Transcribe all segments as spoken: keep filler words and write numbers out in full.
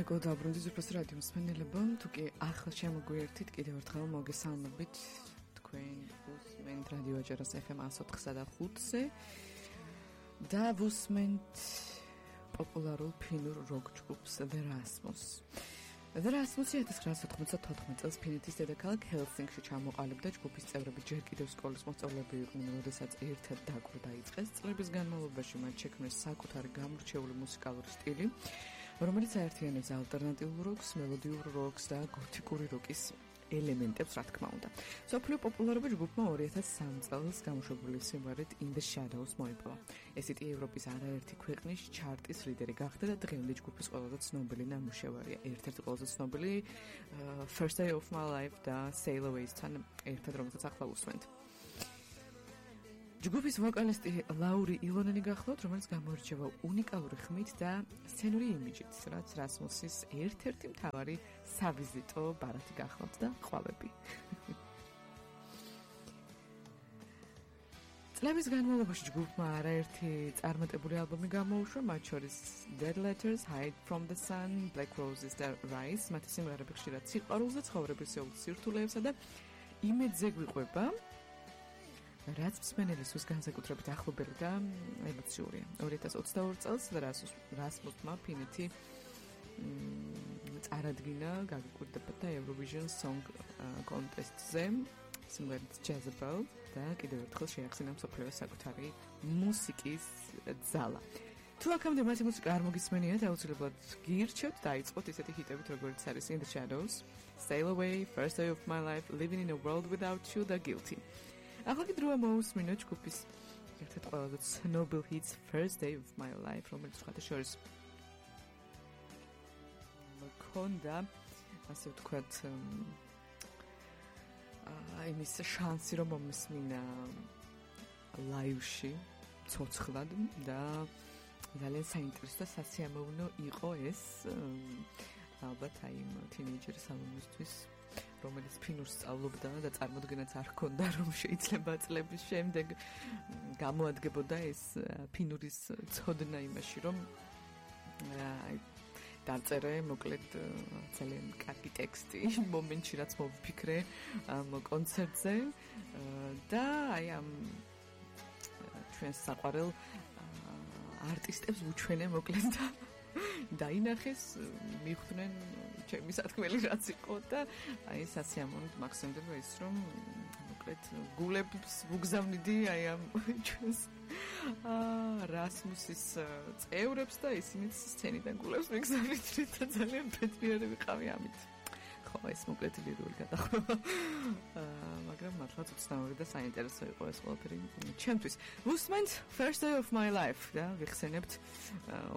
მეგო დაბრუნდით უფროს რადიო მსმენელებო, თუ კი ახლა შემოგვიერთით კიდევ ერთხელ მოგესალმებით თქვენ უსმენთ რადიო აჯერას ეფ ემ ათს ოთხსა და ხუთზე და ვუსმენთ პოპულარულ ფინურ როკ ჯგუფს The Rasmus. The Rasmus ექვსი ათას ოცდაოთხმოცდათოთხმეტ წელს ფინეთის დედაქალაქ ჰელსინკში ჩამოყალიბდა. ჯგუფის წევრები ჯერ კიდევ სკოლის მოსწავლეები იყვნენ, როდესაც ერთად დაკვირვა დაიწყეს. წლების განმავლობაში მათ შექმნეს საკუთარი გამორჩეული მუსიკალური სტილი, რომელიც აერთიანებს ალტერნატიულ როკს, მელოდიურ როკს და გოთიკური როკის ელემენტებს, რა თქმა უნდა. მსოფლიო პოპულარობა ჯგუფმა ორი ათას სამი წელს გამოშვებული სიმღერით In the Shadows მოიპოვა. ესეთი ევროპის არაერთი ქვეყნის ჩარტის ლიდერი გახდა და დღემდე ჯგუფის ყველაზე ცნობილი ნამუშევარია. ერთ-ერთი ყველაზე ცნობილი uh, First Day of My Life და Sail Away-თან ერთად, რომელსაც ახლა უსმენთ. ჯგუფის ვოკალისტი ლაური ილონენი გახლავთ, რომელიც გამოირჩევა უნიკალური ხმით და სცენური იმიჯით, რაც Rasmus-ის ერთ-ერთი მთავარი სავიზიტო ბარათი გახლავთ და ყვალები. წლების განმავლობაში ჯგუფმა არაერთი წარმატებული ალბომი გამოუშვა, მათ შორის Dead Letters, Hide from the Sun, Black Roses და Rise. მათი სიმღერები ხშირად სიყვარულს და ცხოვრებისეულ სირთულეებსა და იმედზე გვიყვება, რაც მსმენელისთვის განსაკუთრებით ახლობელი და ემოციურია. ორი ათას ოცდაორი წელს Rasmus-მა ფინეთი წარადგინა გაგიკვირდება და Eurovision Song Contest-ზე სიმღერით Jezebel და კიდევ ერთხელ შეახსენა მსოფლიოს საკუთარი მუსიკის ძალა. თუ აქამდე მათი მუსიკა არ მოგისმენიათ, აუცილებლად გირჩევთ დაიწყოთ ისეთი ჰიტებით, როგორც არის In the Shadows, Sail Away, First Day of My Life, Living in a World Without You და Guilty. ახლა კი დროა მოусმინოთ ჯგუფის ერთ-ერთ ყველაზე ცნობილ ჰიტს First Day of My Life, რომელიც სხვათა შორის მქონდა, ასე ვთქვათ, აა იმის შანსი, რომ მომისმინა ლაივში ცოცხლად და ძალიან საინტერესო და სასიამოვნო იყო ეს ალბათ აი იმ თინეიჯერის ალბომისთვის, რომელიც ფინურს სწავლობდა და წარმოდგენაც არ ჰქონდა, რომ შეიძლება წლების შემდეგ გამოადგებოდა ეს ფინურის ცოდნა იმაში, რომ აი დაწერე მოკლედ ძალიან კარგი ტექსტი მომენტში, რაც მოვიფიქრე ამ კონცერტზე და აი ამ ჩვენს საყვარელ არტისტებს ვუჩვენე მოკლედ და დაინახეს, მიხვდნენ ჩემი სათქმელი რაც იყო და აი სასიამოვნოდ მაქსიმდება ის, რომ მოკლედ გულებს ვუგზავნიდი აი ამ ჩვენს აა Rasmus-ის წევრებს და ისინიც სცენიდან გულებს მიგზავნით და ძალიან პეტრიარი ვიყავი ამით. ხო, ეს მოკლედ ლირული გადახრება. აა მაგრამ მართლაც უცნაური და საინტერესო იყო ეს ყველაფერი ჩემთვის. ვუსმენთ First Day of My Life და ვიხსენებთ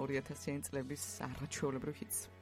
ორი ათასიანი წლების არაჩვეულებრივ ჰიტს.